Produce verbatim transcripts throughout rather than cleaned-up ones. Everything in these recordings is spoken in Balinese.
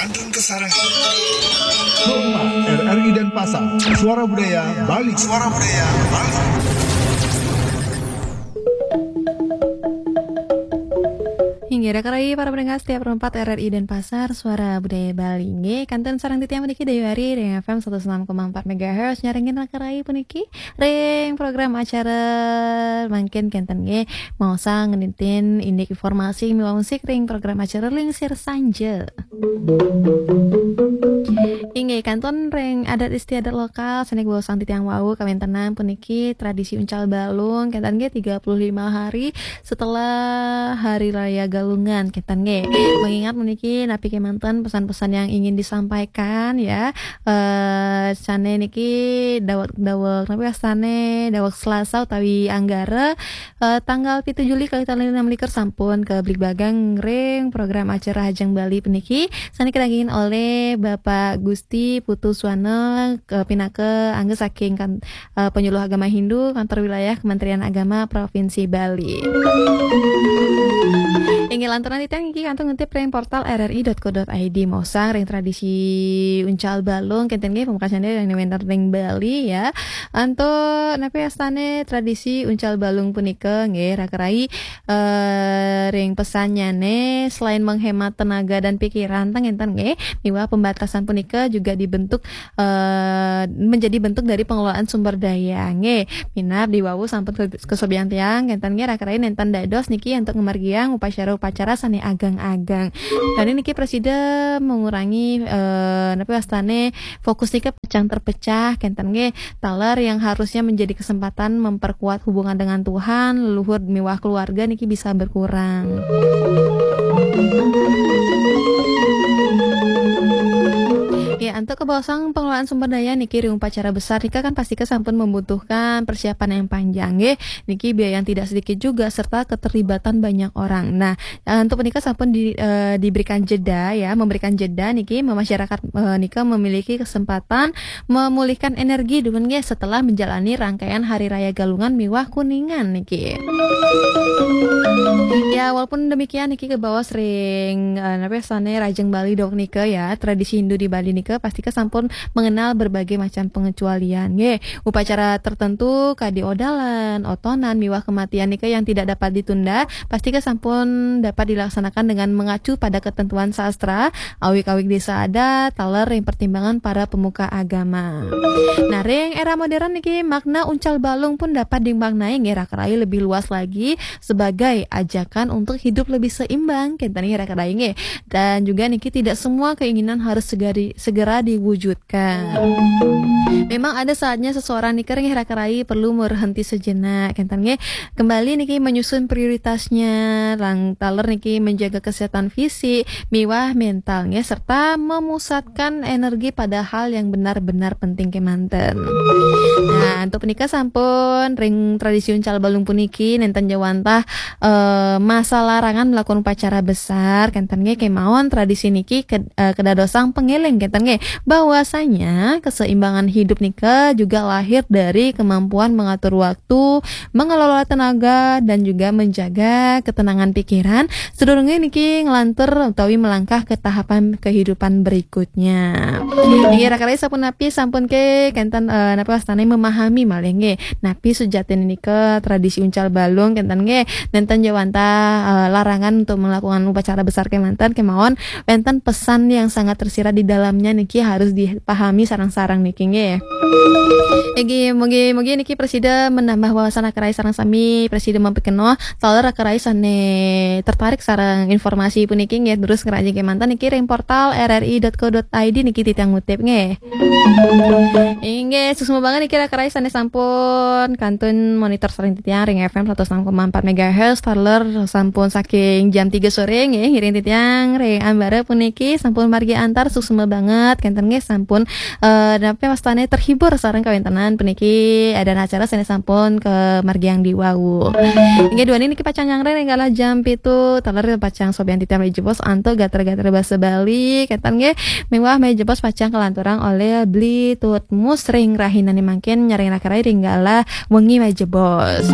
Turun ke sarang. Rumah R R I Denpasar, Suara Budaya Bali. Suara Budaya Bali. Inggih, raka rayi para pendengar setia Pro empat R R I Denpasar, Suara Budaya Bali. Inggih, kantun sareng titiang puniki Dayu Ari ring F M satus enam koma empat megahertz, nyarengin raka rayi puniki ring program acara mangkin kenten nggih, maosang ngenintin indik informasi miwah musik ring program acara Lingsir Sanja. Inggih, kantun ring adat istiadat lokal sane kabaosang titiang wau, kawentenan puniki tradisi uncal balung kenten nggih tiga puluh lima hari setelah Hari Raya Galungan kenten nggih. Mengingat puniki napi kemanten pesan-pesan yang ingin disampaikan ya, eh sane niki dawek-dawek napi wastane dawek Selasa utawi Anggara, eh, tanggal pitu Juli kalih tali enam likur sampun kabligbagang ring program acara Hajeng Bali puniki sane kadanggingin oleh Bapak Gusti Putu Swana, eh, pinaka angga saking kan, eh, penyuluh agama Hindu kantor wilayah Kementerian Agama Provinsi Bali. Inggih lanturang titiang niki kantun ngintip ring portal R R I dot co dot I D maosang ring tradisi uncal balung kenten nggih pamekasane ring wenten ring Bali ya. Antuk napi wastane tradisi uncal balung punika nggih raka rayi, eh, ring pesannyane selain menghemat tenaga dan pikiran teng enten nggih miwah pembatasan punika juga dibentuk, eh, menjadi bentuk dari pengelolaan sumber daya nggih. Minab diwawu sampun ke- kesobian tiang kenten nggih raka rayi nenten dados niki untuk ngamargiang upacara-upacara sane ageng-ageng. Dan niki prasida mengurangi, eh, napi wastane fokus nika pacang terpecah kenten nggih. Taler yang harusnya menjadi kesempatan memperkuat hubungan dengan Tuhan, leluhur miwah keluarga niki bisa berkurang. Ya, untuk kebaosang pengelolaan sumber daya niki ring upacara besar nika kan pasti sampun membutuhkan persiapan yang panjang nggih. Niki biaya yang tidak sedikit juga serta keterlibatan banyak orang. Nah, eh, untuk menikah sampun di, eh, diberikan jeda ya, memberikan jeda niki masyarakat, eh, nika memiliki kesempatan memulihkan energi dumun nggih setelah menjalani rangkaian Hari Raya Galungan miwah Kuningan niki. Ya, walaupun demikian niki kabaos ring, eh, napi wastane Rajeng Bali dok nika ya, tradisi Hindu di Bali nika pasti sampun mengenal berbagai macam pengecualian nggih. Upacara tertentu kadi odalan, otonan miwah kematian nika yang tidak dapat ditunda pasti sampun dapat dilaksanakan dengan mengacu pada ketentuan sastra, awig-awig desa adat, taler ring pertimbangan para pemuka agama. Nah, ring era modern niki makna uncal balung pun dapat dimaknai nggih raka rayi lebih luas lagi sebagai ajakan untuk hidup lebih seimbang kenten nggih raka rayi nggih. Dan juga niki tidak semua keinginan harus segera, segera diwujudkan. Memang ada saatnya seseorang nika nggih raka rayi perlu berhenti sejenak kenten nggih. Kembali niki menyusun prioritasnya, lang taler niki menjaga kesehatan fisik miwah mental nggih serta memusatkan energi pada hal yang benar-benar penting kemanten. Nah, untuk punika sampun ring tradisi uncal balung puniki nenten jawantah, eh, masa larangan melakukan upacara besar kenten nggih kemawon tradisi niki ke- eh, kedadosang pengeling kenten nggih bahwasanya keseimbangan hidup nika juga lahir dari kemampuan mengatur waktu, mengelola tenaga dan juga menjaga ketenangan pikiran sadurunge niki nglantur utawi melangkah ke tahapan kehidupan berikutnya. Inggih raka rayi sampun napi sampun ke kenten, eh, napi wastane memahami malih nggih. Napi sujatine nika tradisi uncal balung kenten nggih nenten jawantah, eh, larangan untuk melakukan upacara besar kemanten kemawon wenten pesan yang sangat tersirat di dalamnya niki harus dipahami sareng-sareng niki nggih. Inggih, mugi-mugi niki prasida menambah wawasan raka rayi sareng sami, prasida mapikenoh taler raka rayi sane tertarik sareng informasi puniki nggih, terus ngrajin kemanten niki ring portal R R I dot co dot I D niki titiang ngutip nggih. Inggih, suksma banget niki raka rayi sane sampun kantun monitor sareng titiang ring F M satus enam koma empat megahertz, taler sampun saking jam tiga sore nggih, ngiring titiang ring ambara puniki sampun margi antar, suksma banget kenten nggih sampun, eh, napi wastane terhibur sareng kawentenan puniki ada acara sane sampun kamargiang diwawu. Inggih duaning niki pacang nyarengin ring galah jam pitu, taler pacang sobian titiang malih jebos antuk gatra-gatra basa Bali kenten nggih. Miwah malih jebos pacang kalanturang oleh Bli Tutmus ring rahinane mangkin nyarengin raka rayi ring galah wengi malih jebos.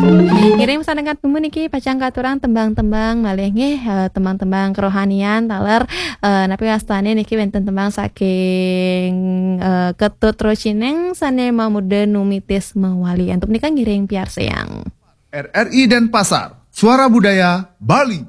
Ngiring sarengan puniki pacang ka- Turang tembang-tembang malih nggih, eh, tembang-tembang kerohanian taler, eh, napi wastane niki wenten tembang saking, eh, Ketut Rocineng sane mamuda numitis mawali. Antuk menika ngiring piarsayang. R R I Denpasar, Suara Budaya Bali.